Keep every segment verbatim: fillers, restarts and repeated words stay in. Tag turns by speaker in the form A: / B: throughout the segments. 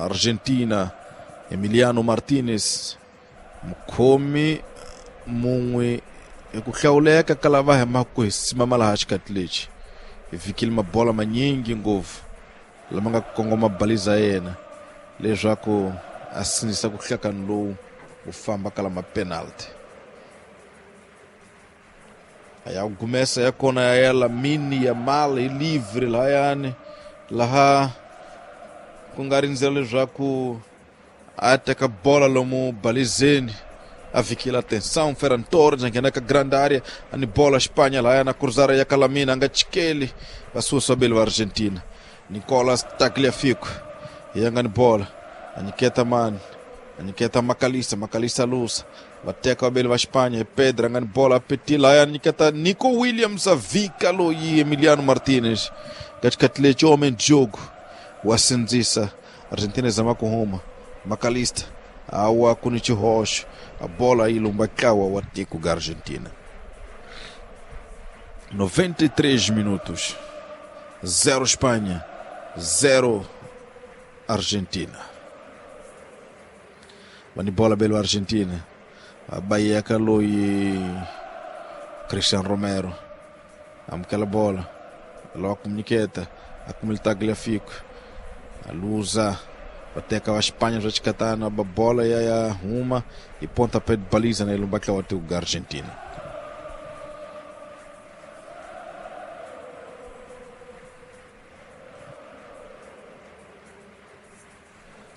A: Argentina Emiliano Martinez mukhomi mun'we hi ku hlawuleka ka lava hi maku hi simama laha xikati lexi hi fikile mabola manyingi ngopfu lama nga kongoma baliza yena leswaku a sindzisa ku hlakani lowu wu famba ka lama penalty a ya gumesa ya kona ya Lamine Yamal hi livre lahayani laha ku nga rindzela leswaku a teka bola lomu balizeni a fikile atenção Ferran Torres a nghena ka grande área ani bola Espanha lahayana cruzar ya Lamine a nga chikeli va susa bele va Argentina Nicolas Tagliafico ya nga ni bola a nyiketa mani a nyiketa Makalisa Makalisa lusa va teka vabeli va Espanha hi Pedro a nga ni bola Petit lahaya a nyiketa Nico Williams a vika loyi Emiliano Martinez ka xikati lexi homem de jogo wa sindzisa Argentina zama ku huma Makalista awa ku ni xihoxo a bola yi lumba ntlawa wa tiko ga Argentina noventa e três minutos zero Espanha zero Argentina va ni bola belo Argentina a bayeka loyi Christian Romero amukela bola lava ku nyiketa a kumile Tagliafico a luza va teka va Espanha swa xikatana ba bola ya ya huma hi pontapé de baliza na ilumba ntlawa wa tiko ga Argentina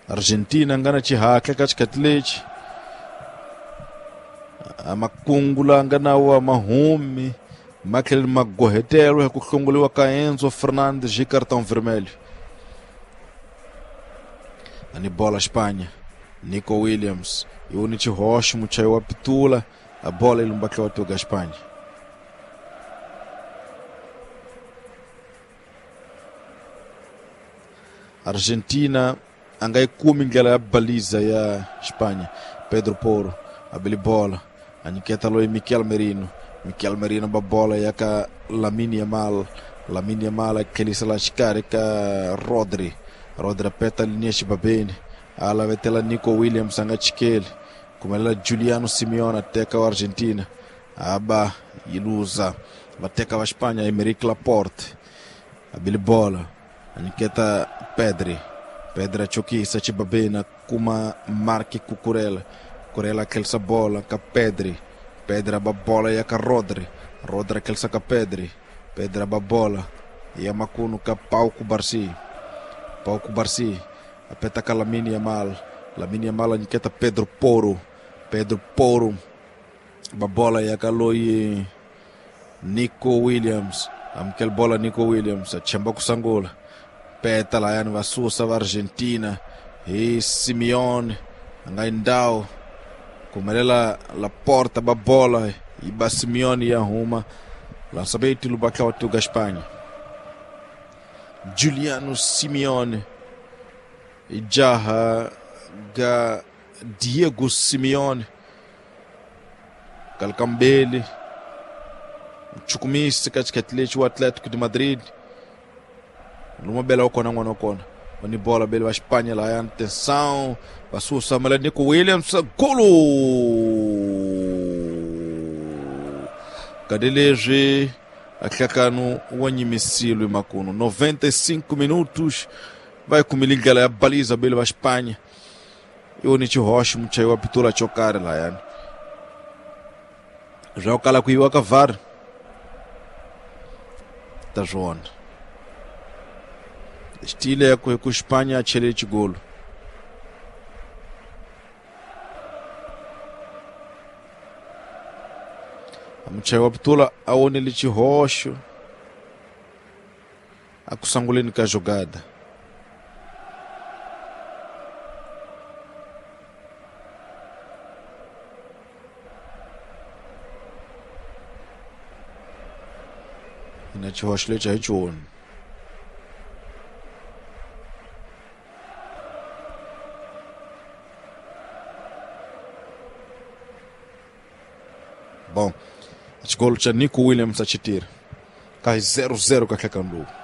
A: Argentina nga na xihatla ka xikati lexi a makungu la nga na wa mahumi ma tlhela ma gohetelo hi ku hlongoliwa ka Enzo Fernandes hi cartão vermelho ani bola Espanha Nico Williams e o Nietzsche Rocha muchayi wa pitula a bola ilumba ntlawa wa tiko ga Espanha Argentina a nga yi kumi ndlela ya baliza ya Espanha Pedro Porro a beli bola a nyiketa loyi Mikel Merino Mikel Merino ba bola ya ka Lamine Yamal Lamine Yamal a tlhelisa la xikarhi ka Rodri Rodri a peta linha xibabeni a lavetela Nico Williams a nga chikeli kumelela Giuliano Simeone a teka wa Argentina a ba yi luza va teka va Espanha Emerick Laporte a beli bola a nyiketa Pedri Pedro chokisa xibabeni a kuma Marc Cucurella Cucurella a tlhelisa bola ka Pedri Pedri a ba bola ya ka Rodri Rodri a tlhelisa ka Pedri Pedri a ba bola ya makunu ka Pau Cubarsí Pau Cubarsí a peta ka Lamine Yamal Lamine Yamal a nyiketa Pedro Porro Pedro Porro ba bola ya ka loyi Nico Williams amukela bola Nico Williams a chemba ku sangula peta lahayani va susa va Argentina hi Simeone a nga yi ndhawu kumelela Laporta ba bola yi ba Simeone ya huma lançamento lumba ntlawa wa tiko ga Espanha Giuliano Simeone i jaha ga Diego Simeone kalkambeli mchukumisi ka xikati lexi wa Atlético de Madrid luma bela wa kona n'wana wa kona va ni bola bele va Espanha lahayani atenção va susa mala Nico Williams golo kadi leswi a nhlakano wa nyimisilo makunu noventa e cinco minutos vai kumile ndlela ya baliza bele va Espanha iwo ni xihoxo muchayi wa pitula xo karhi lahayani swa ku kala ku yiwa ka V A R ta swona xitile ku ku Espanha a chele xigolo muchayi wa pitula a wonile xihoxo a ku sanguleni ka jogada na xihoxo lexi a hi xona Bom, xigolo xa Nico Williams a xi tirha ka hi zero zero ka nhlekani lowu.